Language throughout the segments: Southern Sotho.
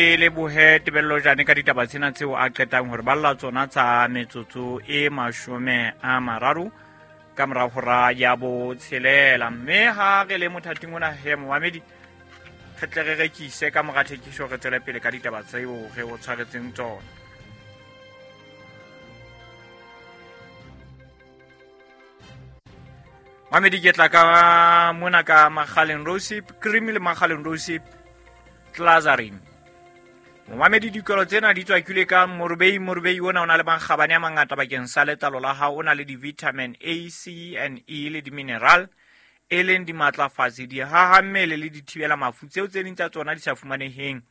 Lebohe Tebello Jane ka ditaba tsena tseo a qetang hore balla tsona tsa metsotso e 30 ka mora hora ya 6. Mme ha re le mothating ona he momamedi, re tle re rekise ka mora thekiso, re tswele pele ka ditaba tseo re o tshwaretseng tsona. Mamedi, ke tla ka mona ka Makgaleng Rosip Cream le Makgaleng Rosip Glazarin. Momamedi, dikolo tsena di tswakilwe ka morobei. Morobei ona o na le makgabane a mangata bakeng sa letlalo la hao. O na le di-vitamin A, C and E le di-mineral, e leng dimatlafatsi, dihaha mmele le dithibela mafu tseo tse ding tsa tsona di sa fumaneheng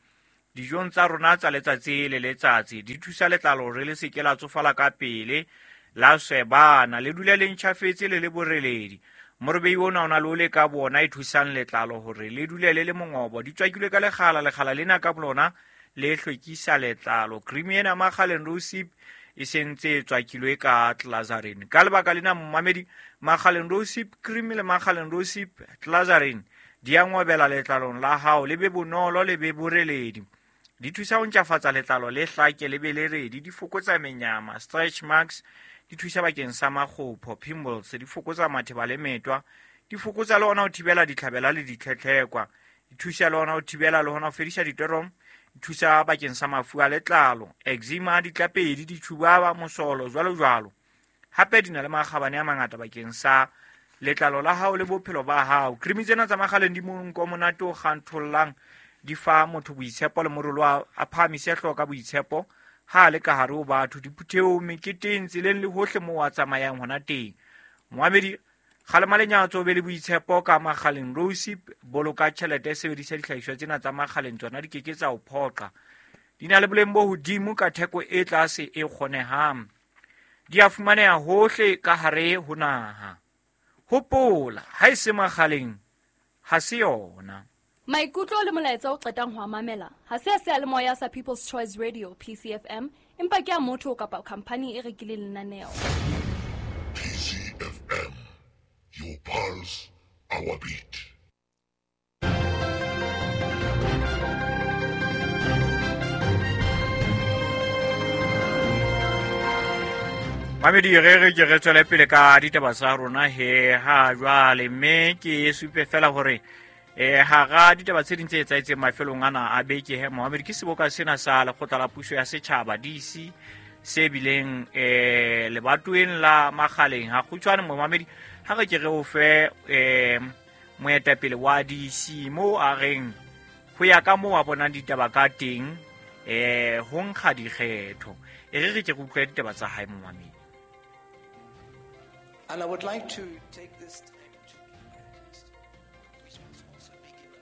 dijong tsa rona tsa letsatsi le letsatsi. Di thusa letlalo hore le se ke la tsofala ka pele, la swebana, le dule le ntjhafetse le le boreledi. Morobei ona o na le ole ka bona e thusang letlalo hore le dule le le mongobo. Di tswakilwe ka lekgala, lekgala lena ka bolona le hlwekisa letlalo. Cream ena Makgaleng Rosip e sentse e tswakilwe ka Glazarin. Ka lebaka lena momamedi, Makgaleng Rosip Cream le Makgaleng Rosip Glazarin di a ngobela letlalong la hao, le be bonolo, le be boreledi. Di thusa ho ntlafatsa letlalo le hlake le be le redi. Di fokotsa menyama, stretch marks, di thusa bakeng sa makgopho, pimples, di fokotsa matheba le metwa, di fokotsa le hona ho thibela ditlhabela le ditlhetlhekwa, di thusa le hona ho thibela le hona ho fedisa ditorom, di thusa bakeng sa mafu a letlalo, eczema, ditlapedi, ditjhubaba, mosolo, jwalo jwalo. Hape di na le makgabane a mangata bakeng sa letlalo la hao le bophelo ba hao. Cream tsena tsa Makgaleng di monko monate o kganthollang, di fa motho boitshepo le morolo a phahamise hlooho ka boitshepo ha a le ka hare ho batho, diphuthehong, meketeng, tseleng le hohle moo a tsamayang hona teng. Moamedi, kgalema lenyatso, o be le boitshepo ka Makgaleng Rosip. Boloka tjhelete, sebedisa dihlahiswa tsena tsa Makgaleng, tsona di keke tsa o phoqa. Di na le boleng bo hodimo ka theko e tlase e kgonehang. Di a fumaneha hohle ka hare ho naha. Hopola, ha e se Makgaleng, ha se yona. Maikutlo le molaetsa o qetang ho a mamela ha se a seyalemoya sa People's Choice Radio PCFM, empa ke a motho kapa khampani e rekileng lenaneo. PCFM, your pulse, our beat. Mamedi, re re ke re tswele pele ka ditaba tsa rona he ha jwale, mme ke supe fela hore hara ditaba tse ding tse etsahetseng mafelong ana a beke he Mohammed, ke seboka sena sa lekgotla la puso ya setjhaba DC se bileng lebatoweng la Makgaleng. Ha kgutshwane Mohammed, ha re ke re o fe moetapele wa DC moo a reng ho ya ka moo a bonang ditaba ka teng, ho nkga dikgetho. E re re ke re utlwe ditaba tsa hae Mohammed. And I would like to take this time to which must also be given.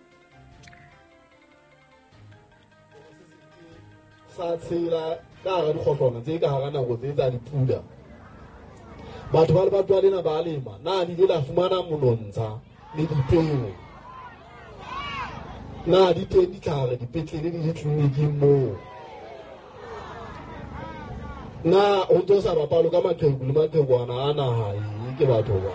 Sa tshela ka hara dikgohlwana tse ka hara nako tse tsa dipula. Batho ba lebatowa lena ba lema, na le ile la fumana monontsha le dipeo? Na di teng ditlhare dipetlele le ditleliniking moo? Na ho ntso sa bapalwe ka maqheku le maqhekwana a naha e ke batho ba?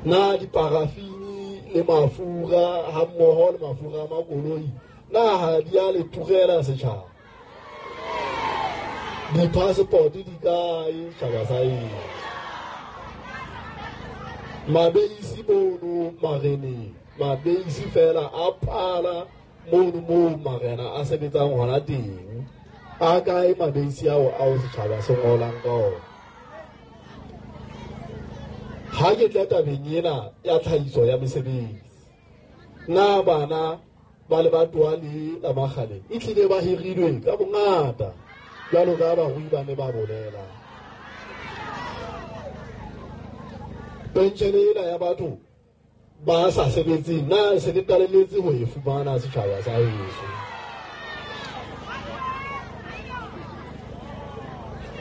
Na diparafini le mafura ha mmoho le mafura a makoloi, na ha di a le turela setjhaba? Di-passport di kae setjhaba sa eng? Mabeisi mono mareneng, mabeisi fela a phala mono moo marena a sebetsang hona teng. A kae mabeisi ao ao setjhaba se ngolang ka ona? Ha ke tla tabeng ena ya tlhahiso ya mesebetsi, na bana ba lebatowa le la Makgaleng e tlile ba hirilwe ka bongata jwalo ka barui ba ne ba bolela? Penshene ena ya batho ba sa sebetseng, na se le qalelletse ho e fumana setjhaba sa heso?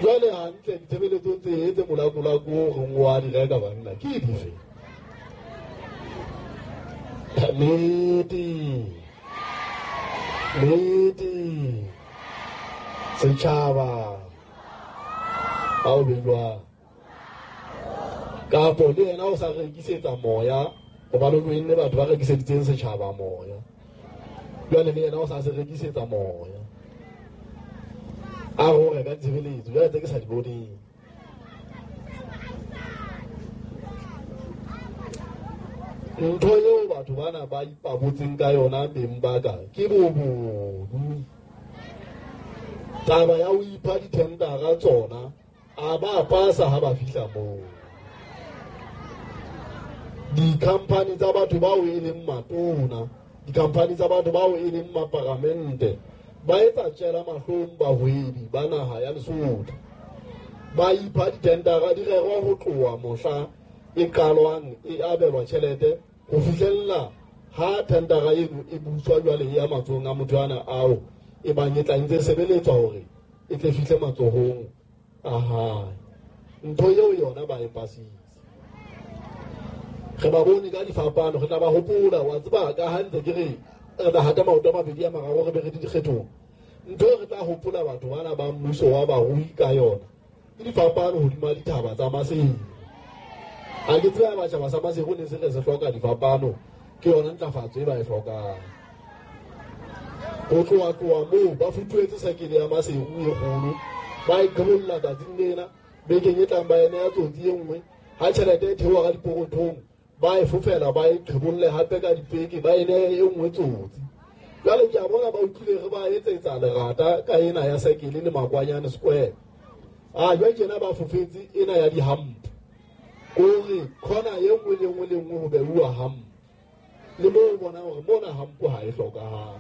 Jwale hantle ditshebeletso tse tse molakolako o reng wa di reka banna ke dife? Nnete, nnete, setjhaba ha o be jwang? Kapo le yena o sa rekisetsa moya, hobane o tlohelle batho ba rekiseditseng setjhaba moya. Jwale le yena o sa se rekisetsa moya, a ho reka ditshebeletso jwale tse ke sa di boneng. Ntho eo batho bana ba ipabotseng ka yona beng ba ka ke bobodu. Taba ya ho ipha dithendara tsona a ba pasa ha ba fihla moo. Di-company tsa batho bao e leng matona, di-company tsa batho bao e leng maparamente, ba etsa tjela mahlong bahwebi ba naha ya Lesotho. Ba ipha dithendara di rerwa ho tloha mohla e qalwang e abelwa tjhelete ho fihlella ha thendara eno e buswa jwale e ya matsohong a motho ana ao e bang e tla ntse sebeletswa hore e tle fihle matsohong a hae. Ntho eo yona ba e pasitse. Re ba bone ka difapano, re tla ba hopola. Wa tseba ka ha ntse ke re re tla hata maoto a mabedi a mararo re be re di dikgethong. Ntho e re tla hopola batho bana ba mmuso wa barui ka yona ke difapano hodima dithaba tsa Maseru. Ha ke tseba batjha sa Maseru ne se re se hloka difapano, ke yona ntlafatso e ba e hlokang. Ho tloha moo ba futuhetse sekele ya Maseru e kgolo, ba e qhebolla tsatsing lena, bekeng e tlang ba ene ya tsotsi e nngwe. Ha tjhelete e theoha ka dipokothong, ba e fofela ba e qhebolle hape ka dipeke, ba e nehe e nngwe tsotsi. Jwale ke a bona ba utlwile re ba etsetsa lerata ka ena ya sekele le Makwanyane Square. A jwale tjena ba fofetse ena ya dihampo, kore khona e nngwe le nngwe le nngwe ho beuwa hampo. Le moo o bonang hore mona hampo ha e hlokahale,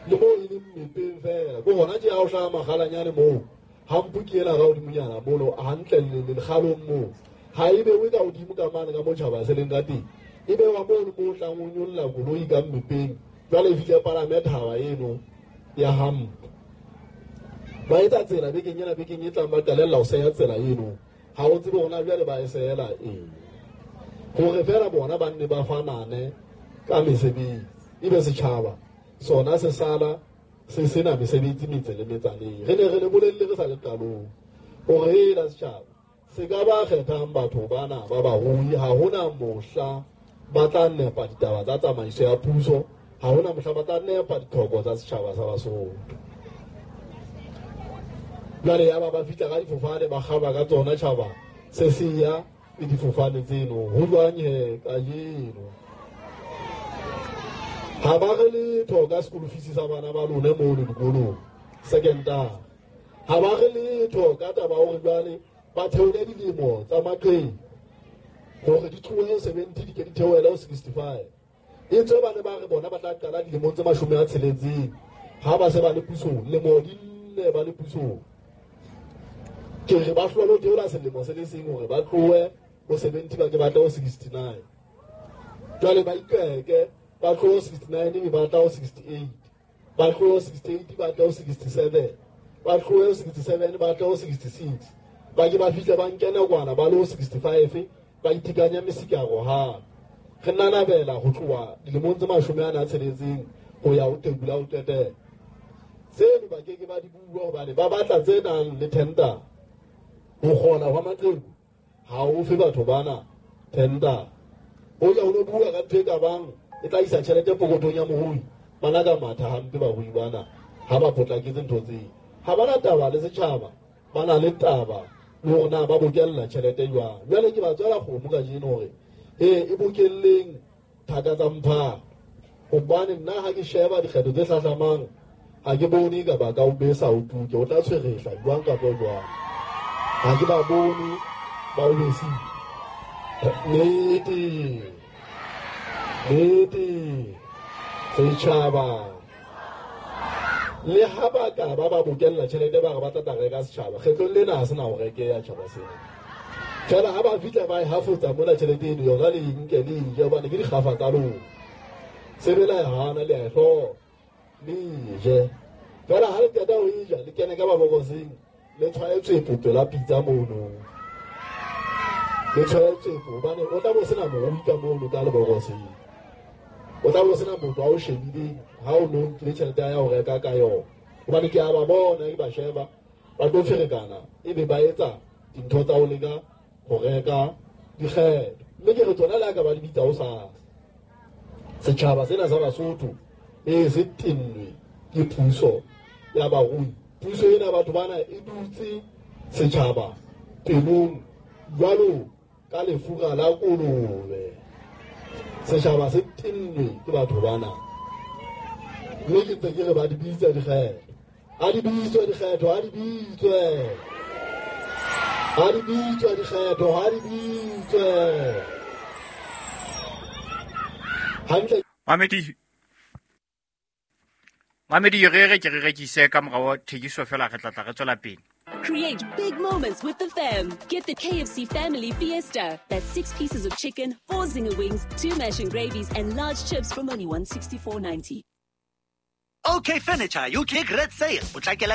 le moo e leng mmepeng fela. Ke hona tje ha o hlaha makgalanyane moo, hampo ke ena ka hodimonyana mono hantle le lekgalong moo. Ha e bewe ka hodimo ka mane ka motjhaba se leng ka teng, e bewa mono moo tlang o nyolla koloi ka mmepeng. Jwale e fihle palame thaba eno ya hampo. Ba etsa tsela bekeng ena, bekeng e tlang ba qalella ho seya tsela eno. Ha o tsebe hona jwale ba e sehela eng, hore fela bona ba nne ba fanane ka mesebetsi, ebe setjhaba sona se sala se sena mesebetsi metse le metsaneng. Re ne re le bolelle re sa le qalong hore hela setjhaba se ka ba kgethang batho bana ba barui, ha hona mohla ba tla nepa ditaba tsa tsamaiso ya puso, ha hona mohla ba tla nepa ditlhoko tsa setjhaba sa Basotho. Jwale ya ba fihla ka difofane, ba kgaba ka tsona tjhaba se se ya le difofane tseno. Ho jwang he kajeno? Ha ba re letho ka school fees sa bana ba lona mono dikolong secondary. Ha ba re letho ka taba hore jwale ba theole dilemo tsa maqheku hore di tlohe 70 di ke di theohele ho 65. E tswe ba ne ba re bona ba tla qala dilemong tse 60 ha ba se ba le pusong, lemo di nne ba le pusong. Ke re ba hlole ho theola selemo se le seng hore ba tlohe ho 70 ba ke ba tle ho 69. Jwale ba ikeke, ba tlohe ho 69 mme ba tla ho 68, ba tlohe ho 68 ba tla ho 67, ba tlohe ho 67 ba tla ho 66. Ba ke ba fihle ba nkene kwana ba le ho 65, ba itekanya mesikaro hape. Re nanabela ho tloha dilemong tse 46 ho ya ho tebula ho qetela. Tseno ba ke ke ba di bua hobane ba batla tse nang le tender. Ho kgona hwa maqheku ha o fe batho bana tender. O ya ho lo bua ka ntho e ka bang e tla isa tjhelete pokothong ya morui. Bana ka matha hampe barui bana ha ba potlaketse ntho tseo. Ha bana taba le setjhaba, ba na le taba le hore na ba bokella tjhelete jwang. Jwale ke ba tswela kgomo kajeno hore e bokelleng thaka tsa mphato, hobane nna ha ke sheba dikgetho tse hlahlamang ha ke bone ka ba ka o besa o tuke, o tla tshwerehla jwang kapa jwang. Ha ke ba bone ba o besile. Nnete, nnete, setjhaba le ha ba ka ba bokella tjhelete ba re ba tla reka setjhaba, kgetlong lena ha se na ho rekeha tjhaba sena. Fela ha ba fihla ba e hafotsa mona tjhelete eno yona le nke le e je, hobane ke dikgafa tsa lona. Sebe la e hana le a e hloka, le e je. Fela ha le qeta ho e ja, le kene ka mabokoseng, le tshwaye tswepo pela pitsa mono. Le tshwaye tswepo hobane o tla bo sena morui ka mono ka lebokoseng. O tla bo sena motho a o shebileng ha o no nkile tjhelete ya ho reka ka yona. Hobane ke a ba bona, ke ba sheba, ba tlo ferekana ebe ba etsa dintho tsa ho leka ho reka dikgetho. Mme ke re tsona le ha ka ba di bitsa hosasa. Setjhaba sena sa Basotho E se tennwe ke puso ya barui. Puso ena batho bana e dutse setjhaba pelong jwalo ka lefura la kolobe. Setjhaba se tennwe ke batho bana. Mme ke ntse ke re ba di bitsa dikgetho. Ha di bitswe dikgetho, ha di bitswe. Ha di bitswe dikgetho, ha di bitswe. Hantle. Mamedi re re ke re rekise ka morao thekiso fela re tla tla re tswela pele. Create big moments with the fam. Get the KFC Family Fiesta. That's 6 pieces of chicken, 4 zinger wings, 2 mash and gravies, and large chips from only $164.90. Okay Furniture, UK Great Sale. Potlakela.